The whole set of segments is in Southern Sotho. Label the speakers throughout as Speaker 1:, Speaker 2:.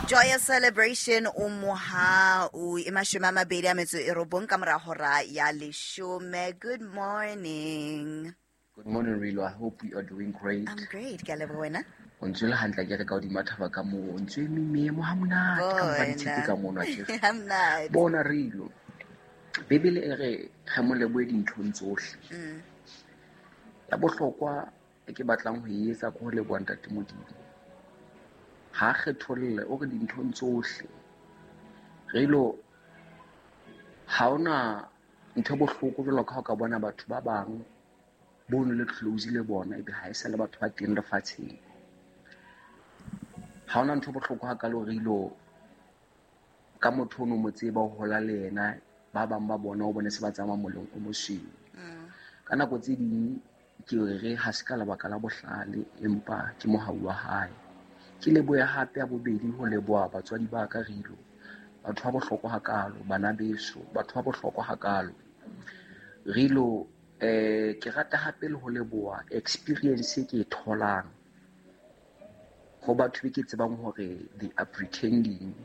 Speaker 1: Joyous celebration o mohau e 29 ka mora hora ya 10. Good morning.
Speaker 2: Good morning, Rilo. I hope you are doing great.
Speaker 1: I'm great. Ke a leboha wena.
Speaker 2: O ntse o le hantle ke re ka hodima thaba ka moo. O ntse o eme meemo ha monate ka mpa ditshepe ka mono akere.
Speaker 1: Ha monate.
Speaker 2: Bona Rilo. Bibele e re re mo lebohe dinthong tsohle. Ya bohlokwa e ke batlang ho e etsa ke ho leboha Ntate Modimo. Ha a kgetholle, o re dinthong tsohle. Rilo, ha hona ntho e bohloko jwalo ka ha o ka bona batho ba bang bo no le close le bona ebe ha e sa le batho ba teng lefatsheng. Ha hona ntho e bohloko hakalo Rilo ka motho o no mo tseba o hola le yena, ba bang ba bona o bone se ba tsamaya moleng o mosweu. Ka nako tse ding ke re ha se ka lebaka la bohlale empa ke mohau wa hae. Ke lebohe hape ya bobedi ho leboha batswadi ba ka Rilo, batho ba bohlokwa hakalo, bana beso, batho ba bohlokwa hakalo. Rilo, ke rata hape le ho leboha experience e ke e tholang ho batho be ke tsebang hore they are pretending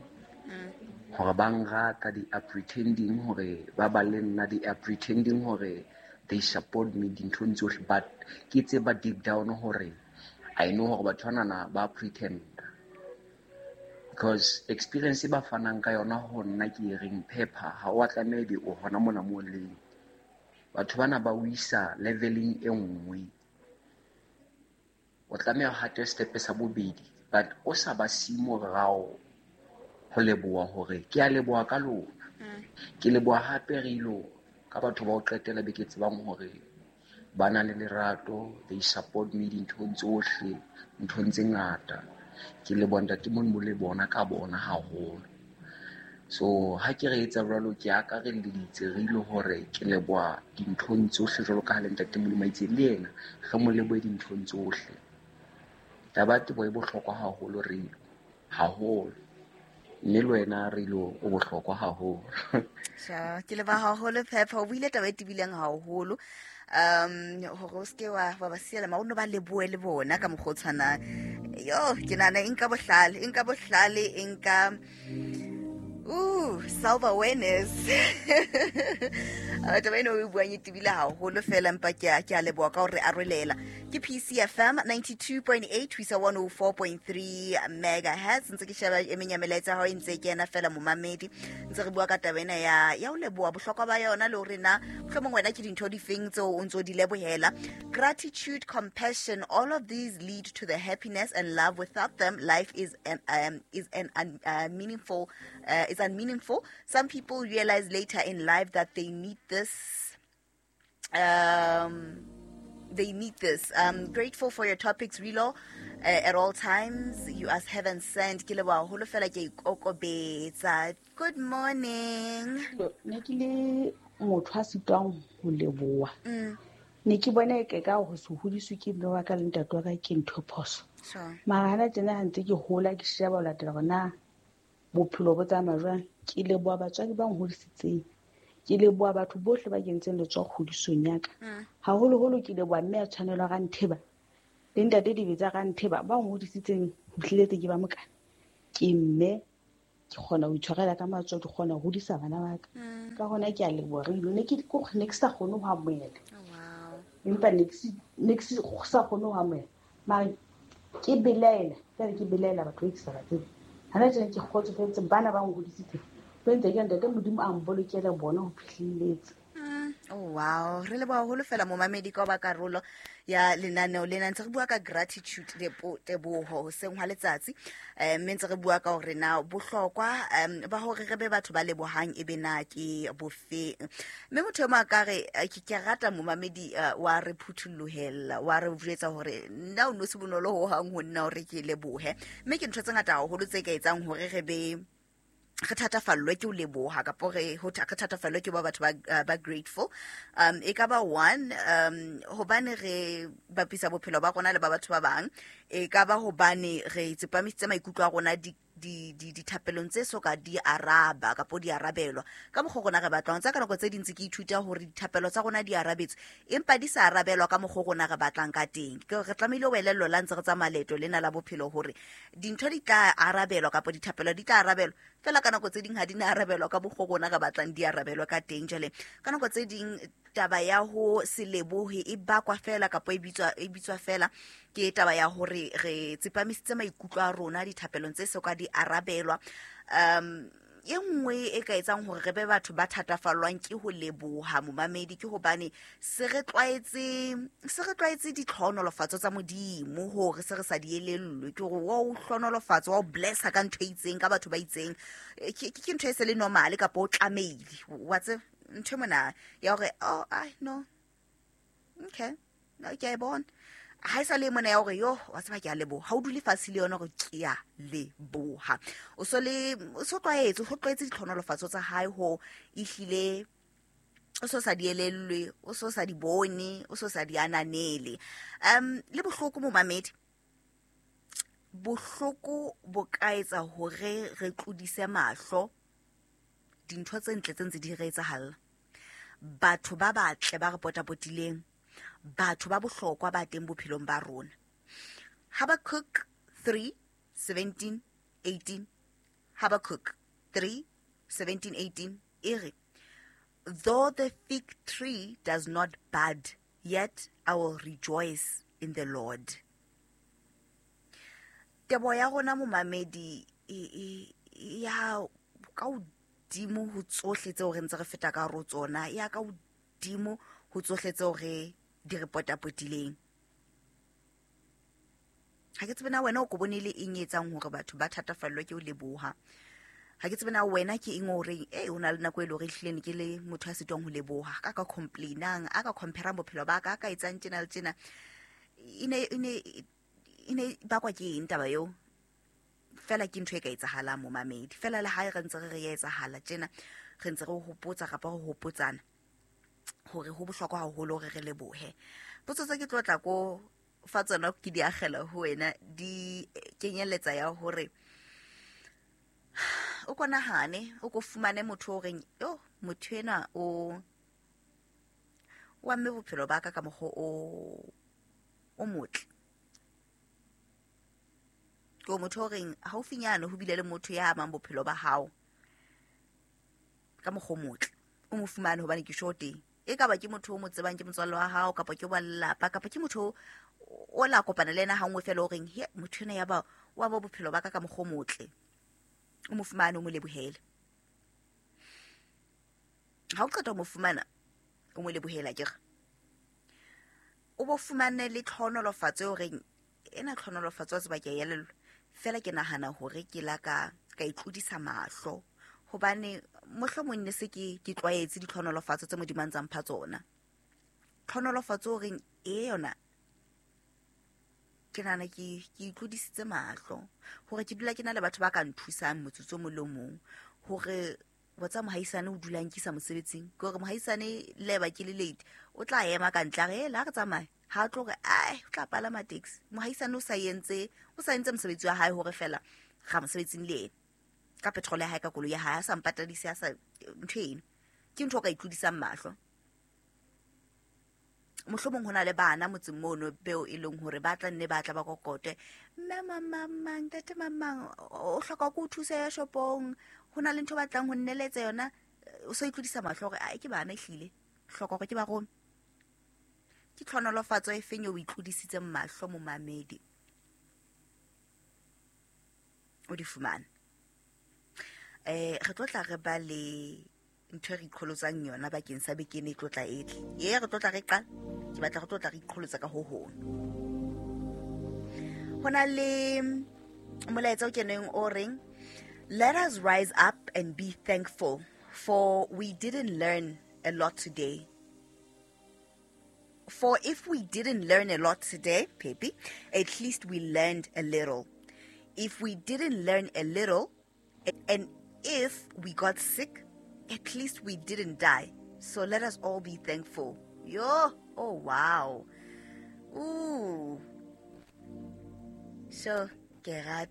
Speaker 2: hore ba nrata, they are pretending hore ba ba le nna, they are pretending hore they support me dinthong tsohle, but ke tseba deep down hore I know hore batho banana ba pretend. Because experience e ba fanang ka yona ho nna ke e reng paper, ha o a tlameha ebe o hona mona moo leng. Batho bana ba o isa leveling e nngwe. O tlameha ho hate step sa bobedi, but o sa ba siye morao ho leboha hore ke a leboha ka lona. Ke leboha hape Rilo ka batho ba ho qetela be ke tsebang hore ba na le lerato, they support me dinthong tsohle, nthong tse ngata. Ke leboha Ntate Modimo le bona ka bona haholo. So ha ke re etsa jwalo ke akarelleditse Rilo hore ke leboha dinthong tsohle jwalo ka ha le Ntate Modimo a itse le yena re mo lebohe dinthong tsohle. Taba ya teboho e bohlokwa haholo Rilo, haholo. Mme le wena Rilo o bohlokwa haholo.
Speaker 1: Sure, ke leboha haholo Phepha, o buile taba e tebileng haholo. Hore o seke wa ba siela ma o no ba lebohe le bona ka mokgwa o tshwanang. Yo, ke nahana e nka bohlale, e nka bohlale, e nka self awareness. Taba ena o e buang e tebile haholo fela, empa ke a leboha ka hore arolela. Ke PCFM 92.8 ho isa 104.3 megahertz. Ntse ke sheba e meng ya melaetsa ya hao e ntse e kena fela momamedi. Ntse re bua ka taba ena ya ho leboha bohlokwa ba yona le hore na mohlomong wena ke dintho di feng tseo o ntso di lebohela. Gratitude, compassion, all of these lead to the happiness and love. Without them, life is an is an meaningful, is unmeaningful. Some people realize later in life that they need this. They need this. Grateful for your topics, Rilo, at all times. You as heaven sent. Ke leboha haholo fela ke ikokobetsa. Good morning.
Speaker 3: Ne ke le motho a sitwang ho leboha. Ne ke bona e ka ho se hodiswe ke mme wa ka le ntate wa ka ke ntho e phoso. Mara hana tjena ha ntse ke hola ke sheba ho latela hore na bophelo bo tsamaya jwang. Ke leboha batswadi ba nhodisitseng. Ke leboha batho bohle ba kentseng letsoho kgodisong ya ka. Haholoholo ke leboha mme a tshwanelwa Rantheba le ntate Dibetsa Rantheba ba nhodisitseng ho fihleletse ke ba mokana. Ke mme ke kgona ho itshwarela ka matsoho, ke kgona ho hodisa bana ba ka. Ka hona ke a leboha Rilo. Ne ke ne ke sa kgone ho amohela. Empa ne ke sa kgone ho amohela. Mara ke belaela, jwale ke belaela batho ba ke sa ba tsebe. Hana tjena ke kgotsofetse bana ba nhodisitseng. Ho entse ke Ntate Modimo a mbolokele bona ho fihlelletse.
Speaker 1: Oh wow, re leboha haholo fela momamedi ka ho ba karolo ya lenaneo lena. Ntse re bua ka gratitude, teboho hoseng hwa letsatsi. Mme ntse re bua ka hore na bohlokwa ba hore re be batho ba lebohang e be na ke bofeng. Mme motho e mong a ka re, ke rata momamedi wa re phuthollohela, wa re jwetsa hore nna o no se bonolo ho hang ho nna hore ke lebohe. Mme ke ntho tse ngata haholo tse ka etsang hore re be re thatafallwe ke ho leboha kapo re ho re thatafallwe ke ba batho ba grateful. E ka ba one, hobane re bapisa bophelo ba rona le ba batho ba bang. E ka ba hobane re tsepamisitse maikutlo a rona dithapelong tse so ka di araba kapo di arabelwa ka mokgwa rona re batlang. Tsa ka nako tse dintsi ke ithuta hore dithapelo tsa rona di arabetswe, empa di sa arabelwa ka mokgwa rona re batlang ka teng. Ke re tlamehile ho elellwa la ntse re tsamaya leeto lena la bophelo hore dintho di tla arabelwa kapo dithapelo di tla arabelwa, fela ka nako tse ding ha di na arabelwa ka mokgwa rona re batlang di arabelwa ka teng. Jwale ka nako tse ding taba ya ho se lebohe e bakwa fela kapo e bitswa fela ke taba ya hore re tsepamisitse maikutlo a rona dithapelong tse so ka di arabelwa. E nngwe e ka etsang hore re be batho ba thatafallwang ke ho leboha momamedi ke hobane se re tlwaetse ditlhohonolofatso tsa Modimo hore se re sa di elellwe. Ke hore wa o hlohonolofatsa, wa o blessa ka ntho e itseng, ka batho ba itseng, ke ntho e se le normal kapa o tlamehile wa tseba ntho mona ya hore oh I no okay no ke a e bona. Ha e sa le mona ya hore yo wa tseba ke a leboha, ha o dule fatshe le yona hore ke a leboha, o so tlwaetse ditlhohonolofatso tsa hae ho ehlile o so sa di elellwe, o so sa di bone, o so sa di ananele. Le bohloko momamedi, bohloko bo ka etsa hore re tlodise mahlo dintho tse ntle tse ntse di re etsahalla, batho ba batle ba re potapotileng, batho ba bohlokwa ba teng bophelong ba rona. Habakkuk 3:17-18, Habakkuk 3:17-18 e re, though the fig tree does not bud, yet I will rejoice in the Lord. Tebo ya rona momamedi ya ka hodimo ho tsohle tseo re ntse re feta ka hare ho tsona, ya ka hodimo ho tsohle tseo re di re potapotileng. Ha ke tsebe na wena o ko bone le eng e etsang hore batho ba thatafallwe ke ho leboha. Ha ke tsebe na wena ke eng o reng o na le nako e le hore ehlile ne ke le motho a sitwang ho leboha, ka ka complainang, a ka compare-ang bophelo ba ka, a ka etsang tjena le tjena. E ne bakwa ke eng taba eo? Fela ke ntho e ka etsahalang momamedi. Fela le ha re ntse re re etsahala tjena, re ntse re hopotsa kapa re hopotsana hore ho bohlokwa haholo hore re lebohe. Potso tse ke tlo tla ko fa tsona ke di akgela ho wena di kenyeletsa ya hore o ko nahane, o ko fumane motho o reng yo motho enwa o amme bophelo ba ka ka mokgwa o motle. Ke motho o reng haufinyane ho bile le motho ya amang bophelo ba hao ka mokgwa o motle, o mo fumane hobane ke sure teng. E ka ba ke motho o mo tsebang, ke motswalle wa hao, kapa ke wa lelapa, kapa ke motho o la kopana le yena hangwe fela o reng he motho ena ya ba wa ba bophelo ba ka ka mokgwa o motle, o mo fumane, o mo lebohele. Ha o qeta ho mo fumana, o mo lebohela akere, o bo fumane le tlhohonolofatso eo reng ena tlhohonolofatso wa tseba ke a elellwa, fela ke nahana hore ke la ka itlodisa mahlo hobane mohlomong ne se ke tlwaetse ditlhohonolofatso tse Modimo a ntsang mpha tsona. Tlhohonolofatso o reng e yona ke nahana ke itlodisitse mahlo hore ke dula ke na le batho ba ka nthusang motsotso o mong le o mong, hore wa tsa mohaisane o dula nkisa mosebetsing, ke hore mohaisane le ba ke le late o tla ema ka ntle a re la re tsamaye, ha tlo re ai o tla palama taxi. Mohaisane o sa entse mosebetsi wa hae hore fela ga mosebetsing le ena ka petrol ya hae, ka koloi ya hae, a sa mpatadise, a sa ntho eno. Ke ntho o ka itlodisang mahlo. Mohlomong ho na le bana motseng mono beo e leng hore ba tla nne ba tla ba kokote, mme mamang, ntate mamang o hloka ko o thusa ya shopong, ho na le ntho ba tlang ho nneletsa yona, o so itlodisa mahlo hore ai ke bana ehlile, hloka hore ke ba rome. Ke tlhonolofatso e feng eo o itlodisitseng mahlo momamedi o di fumane? Re tlo tla re ba le ntho e re iqholotsang yona bakeng sa beke ena e tlo tla e tle. Ye re tlo tla re qala, ke batla re tlo tla re iqholotsa ka ho hong. Ho na le molaetsa o keneng o reng, let us rise up and be thankful, for we didn't learn a lot today. For if we didn't learn a lot today, Pepe, at least we learned a little. If we didn't learn a little, and if we got sick, at least we didn't die. So let us all be thankful. Yo, oh wow. Ooh. So, Gerard.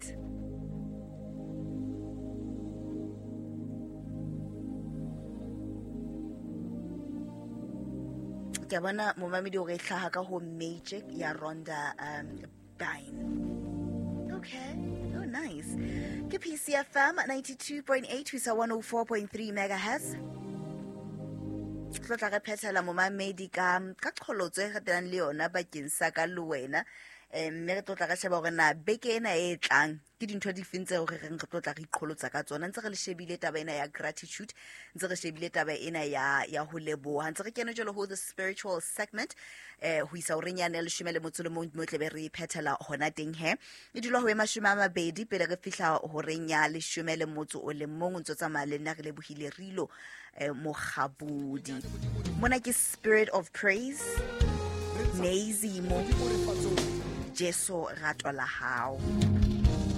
Speaker 1: Ke a bona momamedi hore e hlaha ka ho Magic ya Rhonda Byrne. Okay. Oh, nice. Ke PCFM 92.8 ho isa 104.3 megahertz. Tlo tla re phethela momamedi ka qholotso e re le yona bakeng sa ka le wena. Mme re tlo tla re sheba hore na beke ena e tlang ke dintho di feng tseo re reng re tlo tla re iqholotsa ka tsona. Ntse re le shebile taba ena ya gratitude, ntse re shebile taba ena ya ho leboha, ntse re kene jwalo ho the spiritual segment, ho isa horeng yane ya 11 mo tlebe re phethela hona teng. He e dula ho e 20 pele re fihla horeng ya 11. O ntso tsamaya le nna re lebohile Rilo Mokgabudi. Mona ke Spirit of Praise, Nezimo, Jesu rato la hao.